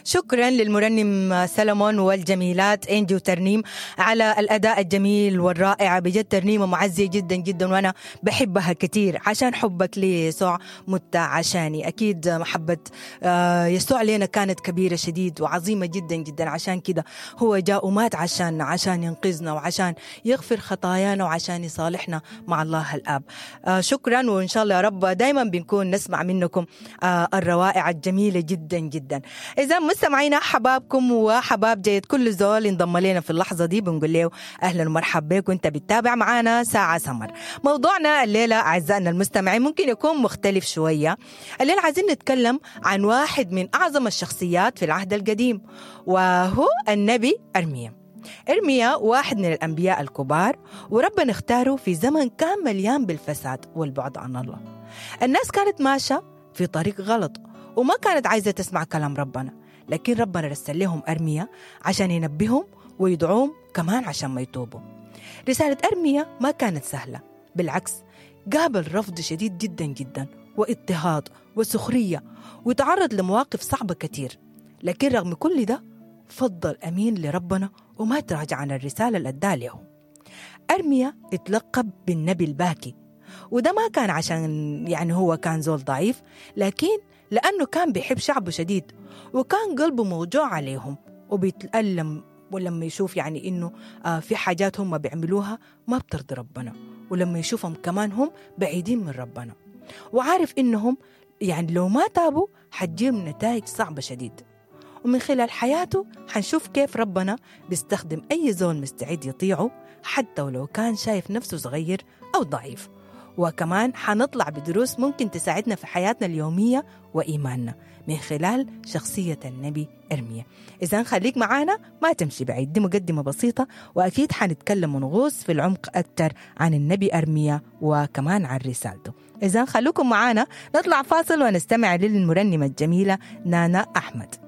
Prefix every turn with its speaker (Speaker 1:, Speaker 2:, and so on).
Speaker 1: شكرا للمرنم سلمون والجميلات انجي وترنيم على الاداء الجميل والرائع. بجد ترنيمة معزيه جدا جدا وانا بحبها كثير. عشان حبك ليسوع مت عشاني. اكيد محبة يسوع لنا كانت كبيرة شديد وعظيمة جدا جدا، عشان كده هو جاء ومات عشاننا، عشان ينقذنا وعشان يغفر خطايانا وعشان يصالحنا مع الله الاب. شكرا، وان شاء الله يا رب دايما بنكون نسمع منكم الروائع الجميلة جدا جدا. اذا مستمعينا حبابكم وحباب جيد كل زول انضم لنا في اللحظة دي، بنقول له اهلا ومرحبا بك وانت بتتابع معانا ساعة سمر. موضوعنا الليلة اعزائنا المستمعين ممكن يكون مختلف شوية. الليلة عايزين نتكلم عن واحد من اعظم الشخصيات في العهد القديم، وهو النبي ارميا. إرميا واحد من الأنبياء الكبار، وربنا اختاره في زمن كان مليان بالفساد والبعد عن الله. الناس كانت ماشية في طريق غلط وما كانت عايزة تسمع كلام ربنا، لكن ربنا رسل لهم أرميا عشان ينبههم ويدعوهم كمان عشان ما يتوبوا. رسالة أرميا ما كانت سهلة، بالعكس قابل رفض شديد جدا جدا واضطهاد وسخرية، وتعرض لمواقف صعبة كتير، لكن رغم كل ده فضل أمين لربنا وما تراجع عن الرسالة اللي أداها له. أرميا اتلقب بالنبي الباكي، وده ما كان عشان يعني هو كان زول ضعيف، لكن لأنه كان بيحب شعبه شديد وكان قلبه موجوع عليهم وبيتألم، ولما يشوف يعني إنه في حاجات هم بيعملوها ما بترضي ربنا، ولما يشوفهم كمان هم بعيدين من ربنا، وعارف إنهم يعني لو ما تابوا حتجيب نتائج صعبة شديد. ومن خلال حياته حنشوف كيف ربنا بيستخدم أي زول مستعد يطيعه حتى ولو كان شايف نفسه صغير أو ضعيف. وكمان حنطلع بدروس ممكن تساعدنا في حياتنا اليومية وإيماننا من خلال شخصية النبي إرميا. إذن خليك معانا ما تمشي بعيد، دي مقدمة بسيطة وأكيد حنتكلم ونغوص في العمق أكتر عن النبي إرميا وكمان عن رسالته. إذن خلوكم معانا نطلع فاصل ونستمع للمرنمة الجميلة نانا أحمد.